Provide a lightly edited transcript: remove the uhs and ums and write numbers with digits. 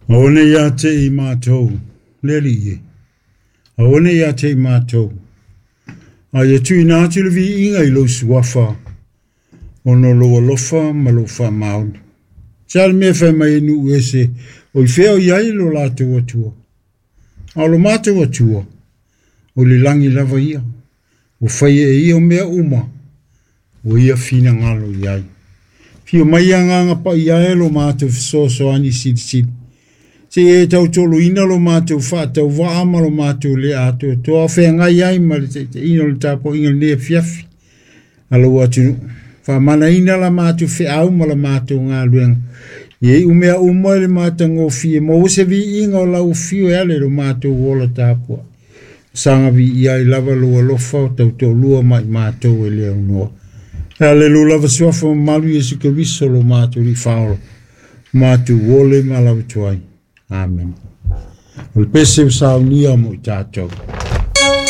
Aua ne i ia te i matou, le Alii e, aua ne i ia te i matou, a ia tuuina atu le viiga i lou suafa, ona o lou alofa ma lou faamaoni. Se a le mea e fai mai ai nuu ese, o i fea o i ai lo latou Atua? A o lo matou Atua, o le lagi lava ia, ua faia e ia mea uma, ua ia finagalo i ai. Fio mai Agaga Paia e lo matou fesoasoani silisili, seia e tautoloina lo matou faatauvaa ma lo matou le atoatoa o feagai ai ma le taitaiina o le tapuaiga i lenei afiafi a lou atunuu. Faamanaina la matou feau ma la matou galuega, ia iu mea uma i le matagofie, maua se viiga o lau afio e ala i lo matou ola tapuai. Saga viia ai lava lou alofa o tautoalua ma i matou e le aunoa. E ala i lou lava suafa mamalu Iesu Keriso lo matou Alii Faaola, matou ole ma lau atu ai. Amene. O le pese ua saunia mo i tatou.